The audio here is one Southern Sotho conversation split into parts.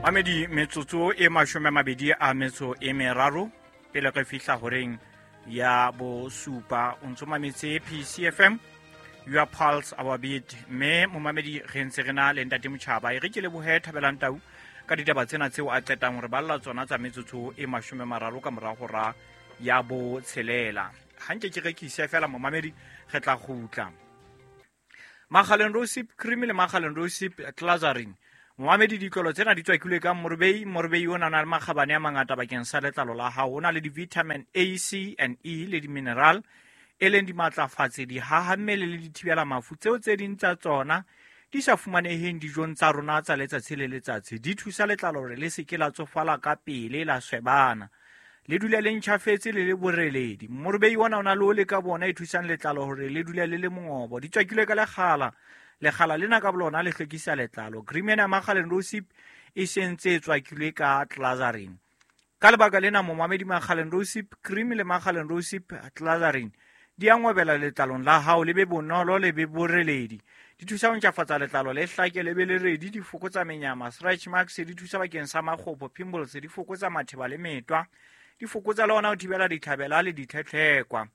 Mamedi, metsotso e 23 pele re fihla horeng ya bosupa. O ntso mametse PCFM, your pulse, our beat. Mme momamedi, re ntse re na le ntate Motjhaba. E re ke lebohe Thabelang Tau ka ditaba tsena tseo a qetang hore balla tsona tsa metsotso e 30 ka mora hora ya botshelela. Ha nke ke rekise fela momamedi, re tla kgutla. Makgaleng Rosip Cream le Makgaleng Rosip Glazarin. Momamedi, ditlolo tsena di tswakilwe ka morobei. Morobei o na le makgabane a mangata bakeng sa letlalo la hao. O na le di-vitamin A, C and E le di-mineral, e leng dimatlafatsi, dihaha mmele le dithibela mafu tseo tse ding tsa tsona di sa fumaneheng dijong tsa rona tsa letsatsi le letsatsi. Di thusa letlalo hore le se ke la tsofala ka pele, la swebana, le dule le ntjhafetse le le boreledi. Morobei ona o na le ole ka bona e thusang letlalo hore le dule le le mongobo. Di tswakilwe ka lekgala. Lekgala lena ka bolona le hlwekisa letlalo. Cream ena ya Makgaleng Rosip e sentse e tswakilwe ka glazarin. Ka lebaka lena momamedi, Makgaleng Rosip Cream le Makgaleng Rosip Glazarin di a ngwebela letlalong la hao, le be bonolo, le be boreledi. Di thusa ho ntjhafatsa letlalo, le hlake, le be le redi. Di fokotsa menyama, stretch marks. Di thusa bakeng sa makgopo, pimples. Di fokotsa matheba le metwa. Di fokotsa le ona ho thibela ditlhabela le ditlhetlhekwa.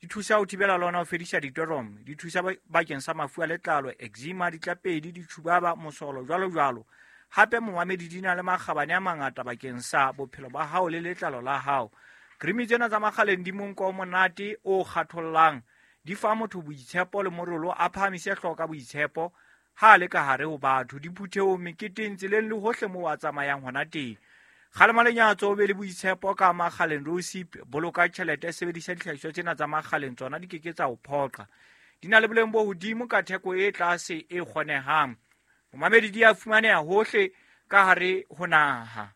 Di thusa ho thibela le ona ho fedisa ditoromo. Di thusa bakeng sa mafu a letlalo, eczema, ditlapedi, ditjhubaba, mosolo, jwalo jwalo. Hape momamedi, di na le makgabane a mangata bakeng sa bophelo ba hao le letlalo la hao. Cream tsena tsa Makgaleng di monko o monate o kgathollang. Di fa motho boitshepo le morolo, a phahamise hlooho ka boitshepo ha a le ka hare ho batho, diphuthehong, meketeng, tseleng le hohle moo a tsamayang hona teng. Kgalema lenyatso, o be le boitshepo ka Makgaleng Rosip. Boloka tjhelete, sebedisa dihlahiswa tsena tsa Makgaleng, tsona di ke ke tsa o phoqa. Di na le boleng bo hodimo ka theko e tlase e kgonehang. Momamedi, di a fumaneha hohle ka hare ho naha.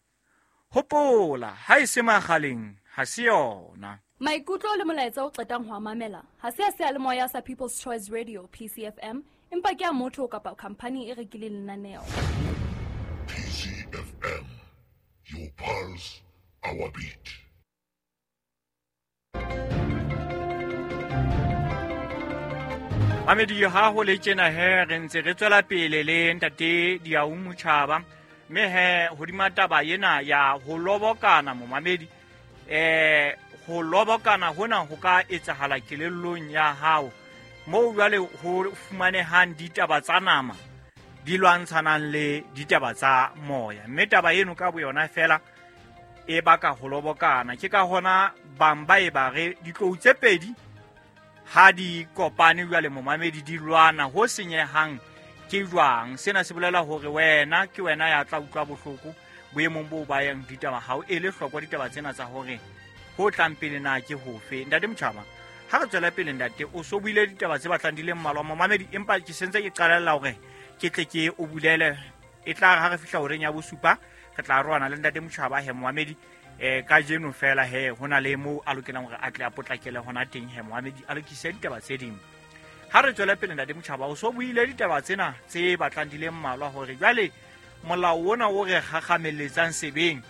Hopola, ha e se Makgaleng ha se yona. Maikutlo le molaetsa o qetang ho a mamela ha se a seyalemoya sa People's Choice Radio, PCFM, empa ke a motho kapa khamphani e rekileng lenaneo. PCFM, your pulse, our beat. Mamedi, ha ho le tjena he re ntse re tswela pele le ntate Diau Motjhaba. Mme he hodima taba ena ya ho lobokana, momamedi, ho lobokana hona ho ka etsahala kelellong ya hao, moo jwale ho fumanehang ditaba tsa nama di lwantshanang le ditaba tsa moya. Mme taba eno ka boyona fela e baka ho lobokana. Ke ka hona bang ba e ba re ditlou tse pedi ha di kopane jwale momamedi di lwana, ho senyehang ke jwang. Sena se bolela hore wena ke wena ya tla utlwa bohloko boemong bo ba yang ditaba ha o ele hloko ditaba tsena tsa hore ho tlang pele na ke hofe. Ntate Motjhaba, ha re tswela pele ntate, o so buile ditaba tse batlang di le mmalwa momamedi, empa ke sentse ke qalella hore ke tle ke o bulele. E tla re ha re fihla horeng ya bosupa re tla roana le ntate Motjhaba he momamedi. Kajeno fela he ho na le moo a lokelang hore a tle a potlakele hona teng he momamedi, a lokise ditaba tse ding. Ha re tswele pele ntate Motjhaba, o so buile ditaba tsena tse batlang di le mmalwa hore jwale molao ona o re kgakgameletsang sebeng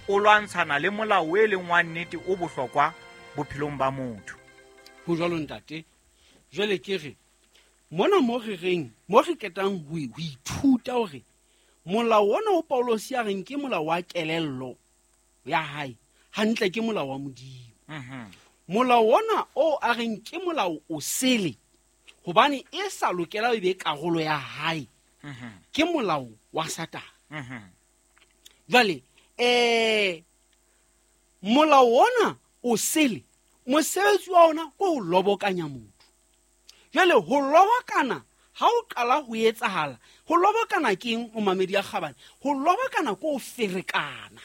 o lwantshana le molao e leng wa nnete o bohlokwa bophelong ba motho. Ho jwalo ntate. Jwale ke re mona mo re reng, mo re qetang ho ithuta hore molao ona o Paulosi a reng ke molao wa kelello ya hae, hantle ke molao wa Modimo. Molao ona o a reng ke molao o sele, hobane e sa lokela e be karolo ya hae, ke molao wa Satane. Jwale, molao ona o sele, mosebetsi wa ona ke ho lobokanya motho. Jwale ho lobokana ha o qala ho etsahala, ho lobokana ke eng, o mamedi ya kgabane? Ho lobokana ke ho ferekana.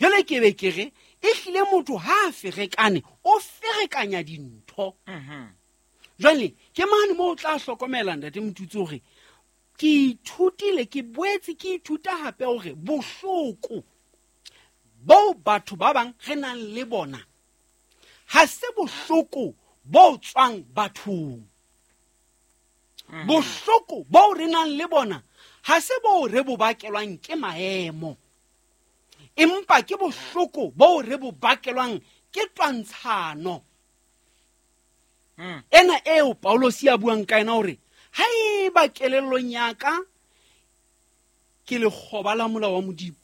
Jwale ke be ke re, ehlile motho ha a ferekane, o ferekanya dintho. Jwale ke mane moo o tla hlokomela ntate Motutsi hore ke ithutile, ke boetse ke ithuta hape hore bohloko boo batho ba bang re nang le bona ha se bohloko bo tswang bathong. Bohloko boo re nang le bona ha se boo re bo bakelwang ke maemo, empa ke bohloko boo re bo bakelwang ke twantshano. Ena eo Paulosi a buang ka yena hore haeba kelellong ya ka ke lekgoba la molao wa Modimo,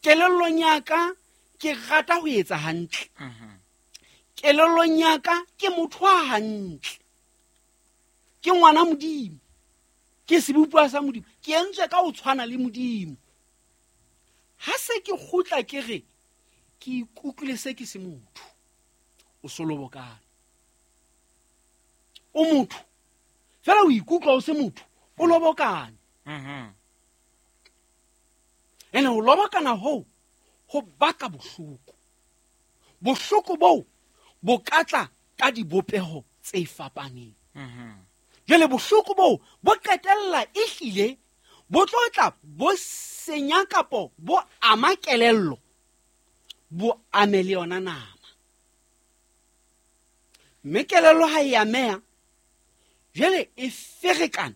Kelellong ya ka ke rata ho etsa hantle. Kelellong ya ka ke motho wa hantle. Ke ngwana Modimo. Ke sebopuwa sa Modimo. Ke entswe ka ho tshwana le Modimo. Ha se ke kgutla ke re ke ikutlwile se ke se motho. O solobokana. O motho. Fela o ikutlwa o se motho, o lobokane. Ene ho lobokana hoo ho baka bohloko. Bohloko boo bo ka tla ka dibopeho tse fapaneng. Jwale bohloko boo bo qetella ehlile bo tlo tla bo senya kapo bo ama kelello, bo ame le yona nama. Mme kelello ha e ameha, jwale e ferekana,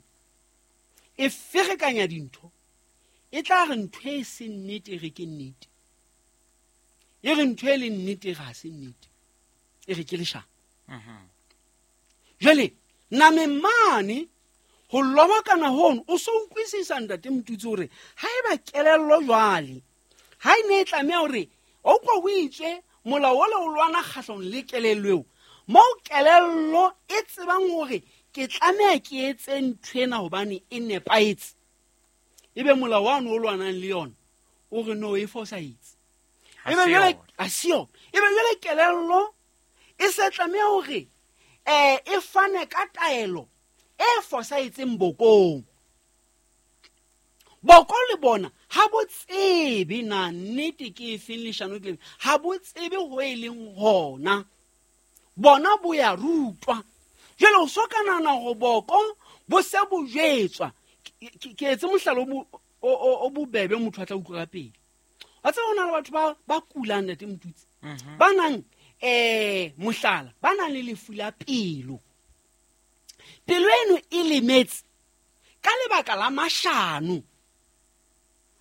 e ferekanya dintho. E tla re ntho e seng nnete e re ke nnete, e re ntho e leng nnete e re ha se nnete, e re ke leshano. Jwale nameng mane ho lobokana hono o so utlwisisa ntate Motutsi hore ha eba kelello jwale ha e ne e tlameha hore o utlwa ho itswe molao ole o lwana kgahlano le kelello eo, moo kelello e tsebang hore ke tlameha ke etse ntho ena hobane e nepahetse, ebe molao wa o lwanang le yona o re no e fosahetse. Ebe jwale ha se yona. Ebe jwale kelello e se tlameha hore e fane ka taelo e fosahetseng bokong. Boko le bona ha bo tsebe na nnete ke efeng leshano ke lefe, ha bo tsebe ho e leng hona. Bona bo ya rutwa. Jwale o so ka nahana hore boko bo se bo jwetswa. Ke etse mohlala o bobebe motho a tla utlwa ka pele. Wa tseba ho na le batho ba kulang ntate Motutsi, ba nang mohlala, ba nang le lefu la pelo. Pelo eno e lemetse ka lebaka la mashano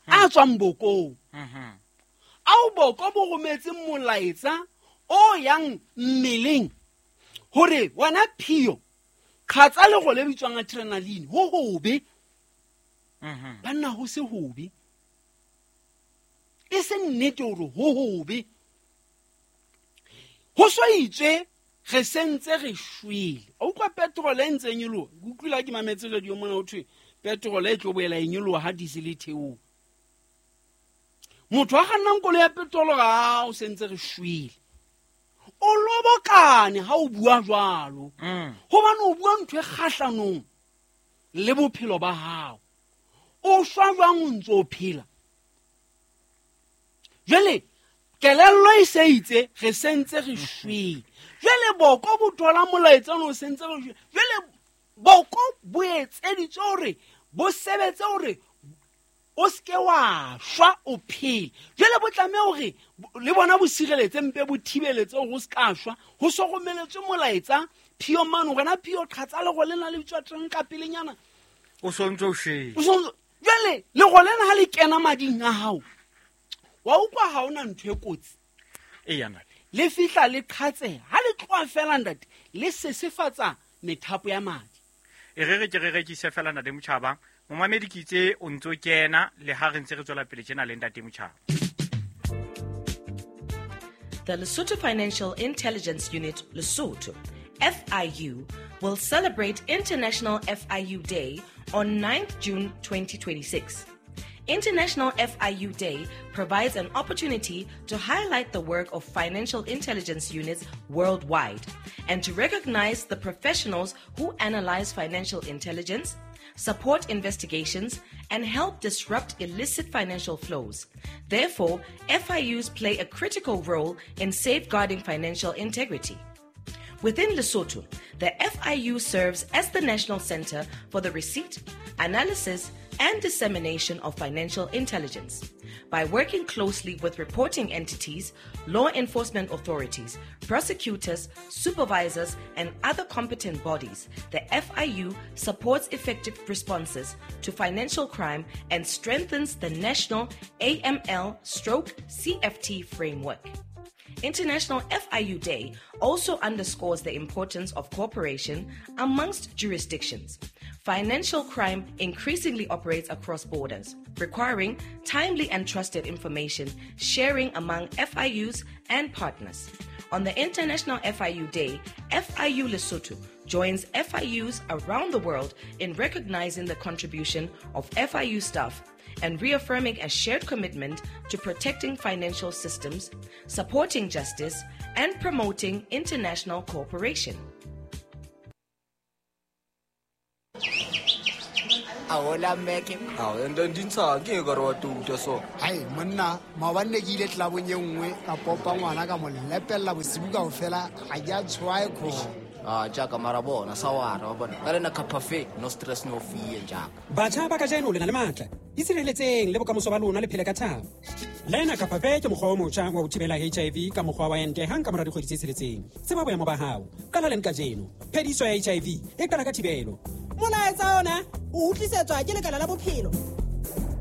a tswang bokong. Ao boko bo rometse molaetsa o yang mmeleng hore wena phio qhatsa lero le bitswang adrenaline ho hobe. Banna ho se hobe. E se nnete hore ho hobe. Ho so itswe re sentse re shwele. O utlwa petrol e ntse e nyoloha. Ke utlwile ha ke mametse radio mona ho thwe petrol e tlo boela e nyoloha ha diesel e theoha. Motho a kgannang koloi ya petrol ha o sentse re shwele. O lobokane ha o bua jwalo. Hobane o bua ntho e kgahlanong le bophelo ba hao. O shwa jwang o ntso o phela? Jwale kelello e se itse re sentse re shwele. Jwale boko bo thola molaetsa ono o sentse re shwele. Jwale boko bo etseditswe hore bo sebetse hore o seke wa shwa o phele. Jwale bo tlameha hore le bona bo sireletse mpe bo thibeletse hore o seka shwa. Ho so romeletswe molaetsa phio mane hore na phio qhatsa lero lena le bitswa teng ka pelenyana. O so ntso o shwele. O so jwale lero lena ha le kena mading a hao, wa utlwa ha hona ntho e kotsi. Eya ntate. Le fihla le qhatseha. Ha le tloha fela ntate, le sesefatsa methapo ya madi. E re ke re rekise fela ntate Motjhaba. Momamedi ke itse o ntso kena le ha re ntse re tswela pele tjena le ntate Motjhaba. The Lesotho Financial Intelligence Unit, Lesotho, FIU, will celebrate International FIU Day on 9th June 2026. International FIU Day provides an opportunity to highlight the work of financial intelligence units worldwide and to recognize the professionals who analyze financial intelligence, support investigations, and help disrupt illicit financial flows. Therefore, FIUs play a critical role in safeguarding financial integrity. Within Lesotho, the FIU serves as the national center for the receipt, analysis, and dissemination of financial intelligence. By working closely with reporting entities, law enforcement authorities, prosecutors, supervisors, and other competent bodies, the FIU supports effective responses to financial crime and strengthens the national AML/CFT framework. International FIU Day also underscores the importance of cooperation amongst jurisdictions. Financial crime increasingly operates across borders, requiring timely and trusted information sharing among FIUs and partners. On the International FIU Day, FIU Lesotho joins FIUs around the world in recognizing the contribution of FIU staff and reaffirming a shared commitment to protecting financial systems, supporting justice, and promoting international cooperation. Aola mmeke. Ao, ende di ntsha ke e ka re wa touta so. Hai monna, maobane ne ke ile tlelabong e nngwe ka popa ngwana ka mo lepelela bosibu kao fela ga ke a tshwae kgomo. Ah, jaaka mara bona sa wara wa bona ka lena cafe no stress no fear jaaka. Batjha ba kajeno le na le matla. Itshireletseng le bokamoso ba lona le phele ka thabo. Lena Capafe ke mokgwa o motjha wa ho thibela HIV ka mokgwa wa ente hang ka mora dikgwedi tse tsheletseng. Tseba boemo ba hao. Qala leng kajeno. Phediso ya HIV e qala ka thibelo. Molaetsa ona o utlwisetswa ke Lekala la Bophelo.